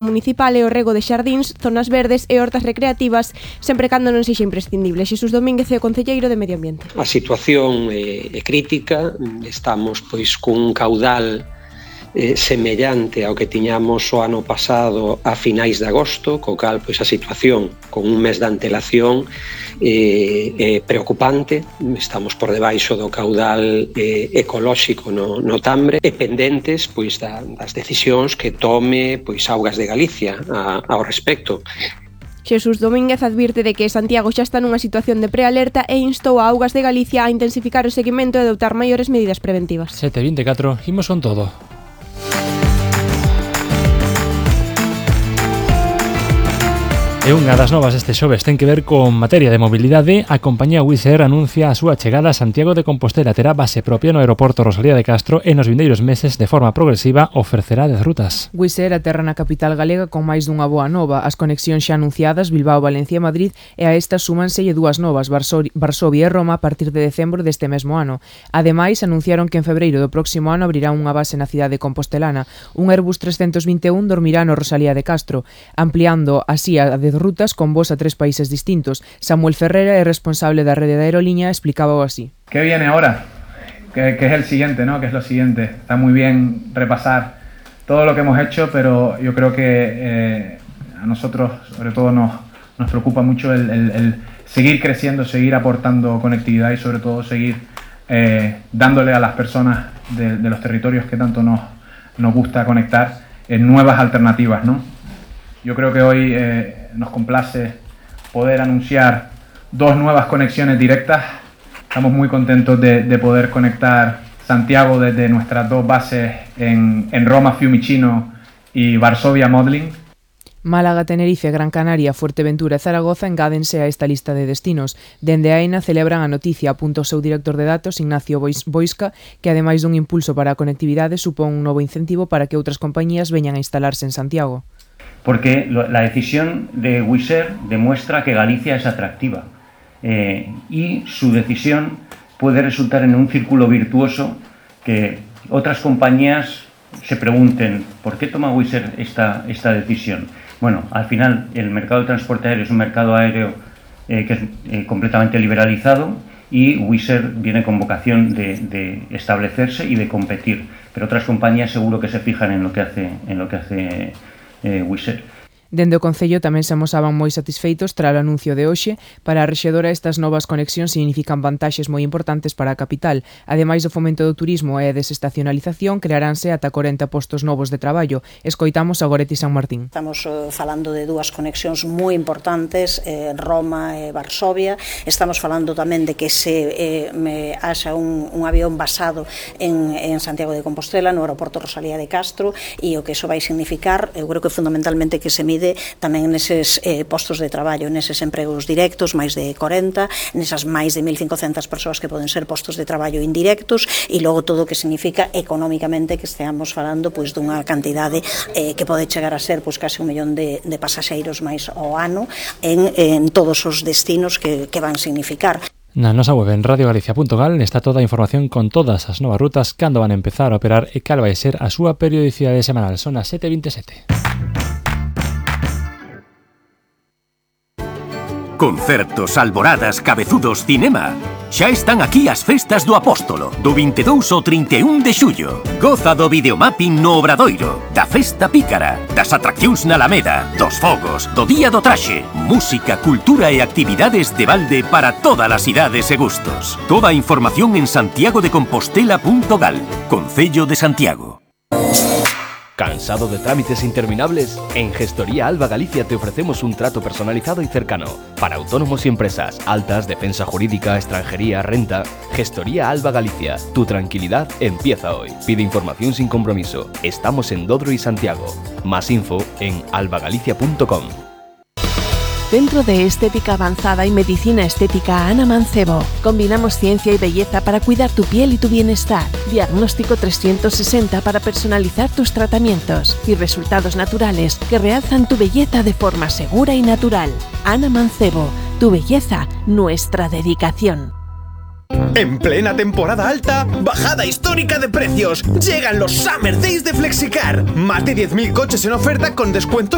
municipal e o rego de xardíns, zonas verdes e hortas recreativas, sempre cando non sexa imprescindible. Xesús Domínguez é o concelleiro de Medio Ambiente. A situación é crítica, estamos pois cun caudal semellante ao que tiñamos o ano pasado a finais de agosto, co cal pois a situación con un mes de antelación é preocupante. Estamos por debaixo do caudal ecolóxico no Tambre e pendentes pois das decisións que tome pois Augas de Galicia ao respecto. Xesús Domínguez advirte de que Santiago xa está nunha situación de prealerta e instou a Augas de Galicia a intensificar o seguimento e adoptar maiores medidas preventivas. 7:24, imos con todo. E unha das novas este xoves ten que ver con materia de mobilidade. A compañía Wizz Air anuncia a súa chegada a Santiago de Compostela. Terá base propia no aeroporto Rosalía de Castro e nos vindeiros meses de forma progresiva ofrecerá 10 rutas. Wizz Air aterra na capital galega con máis dunha boa nova. As conexións xa anunciadas Bilbao, Valencia e Madrid, e a estas súmanselle dúas novas, Varsovia e Roma, a partir de decembro deste mesmo ano. Ademais, anunciaron que en febreiro do próximo ano abrirá unha base na cidade compostelana. Un Airbus 321 dormirá no Rosalía de Castro, ampliando así a 10 rutas con voos a 3 países distintos. Samuel Ferrera, el responsable de la red de aerolínea, explicaba así. ¿Qué viene ahora? ¿Qué es el siguiente, no? ¿Qué es lo siguiente? Está muy bien repasar todo lo que hemos hecho, pero yo creo que a nosotros, sobre todo, nos preocupa mucho el seguir creciendo, seguir aportando conectividad y, sobre todo, seguir dándole a las personas de los territorios que tanto nos gusta conectar nuevas alternativas, ¿no? Yo creo que hoy nos complace poder anunciar 2 nuevas conexiones directas. Estamos muy contentos de poder conectar Santiago desde nuestras 2 bases en Roma, Fiumicino y Varsovia, Modlin. Málaga, Tenerife, Gran Canaria, Fuerteventura e Zaragoza engádense a esta lista de destinos. Dende AENA celebran a noticia, apunta o seu director de datos, Ignacio Boisca, que ademais dun impulso para a conectividade supón un novo incentivo para que outras compañías veñan a instalarse en Santiago. Porque la decisión de Wizz Air demuestra que Galicia es atractiva y su decisión puede resultar en un círculo virtuoso que otras compañías se pregunten ¿por qué toma Wizz Air esta decisión? Bueno, al final el mercado de transporte aéreo es un mercado aéreo que es completamente liberalizado y Wizz Air viene con vocación de establecerse y de competir, pero otras compañías seguro que se fijan en lo que hace Wizz Air. Dende o Concello tamén se amosaban moi satisfeitos tras o anuncio de hoxe. Para a rexedora, estas novas conexións significan vantaxes moi importantes para a capital. Ademais do fomento do turismo e a desestacionalización, crearánse ata 40 postos novos de traballo. Escoitamos a Goretti San Martín. Estamos falando de 2 conexións moi importantes, Roma e Varsovia. Estamos falando tamén de que se haxa un avión basado en Santiago de Compostela, no aeroporto Rosalía de Castro, e o que iso vai significar, eu creo que fundamentalmente que se mide tamén neses postos de traballo, neses empregos directos, máis de 40, nesas máis de 1.500 persoas que poden ser postos de traballo indirectos, e logo todo o que significa económicamente que esteamos falando pois dunha cantidade que pode chegar a ser pois case 1 millón de pasaxeiros máis ao ano en todos os destinos que van significar. Na nosa web en radiogalicia.gal está toda a información con todas as novas rutas, cando van a empezar a operar e cal vai ser a súa periodicidade semanal. Son as 7:27. Concertos, alboradas, cabezudos, cinema. Xa están aquí as festas do Apóstolo, do 22 ao 31 de xullo. Goza do videomapping no Obradoiro, da festa pícara, das atraccións na Alameda, dos fogos, do Día do Traxe, música, cultura e actividades de balde para todas as idades e gustos. Toda a información en santiagodecompostela.gal, Concello de Santiago. ¿Cansado de trámites interminables? En Gestoría Alba Galicia te ofrecemos un trato personalizado y cercano. Para autónomos y empresas, altas, defensa jurídica, extranjería, renta. Gestoría Alba Galicia. Tu tranquilidad empieza hoy. Pide información sin compromiso. Estamos en Dodro y Santiago. Más info en albagalicia.com. Centro de Estética Avanzada y Medicina Estética Ana Mancebo. Combinamos ciencia y belleza para cuidar tu piel y tu bienestar. Diagnóstico 360 para personalizar tus tratamientos y resultados naturales que realzan tu belleza de forma segura y natural. Ana Mancebo, tu belleza, nuestra dedicación. En plena temporada alta, bajada histórica de precios. Llegan los Summer Days de Flexicar. Más de 10.000 coches en oferta con descuentos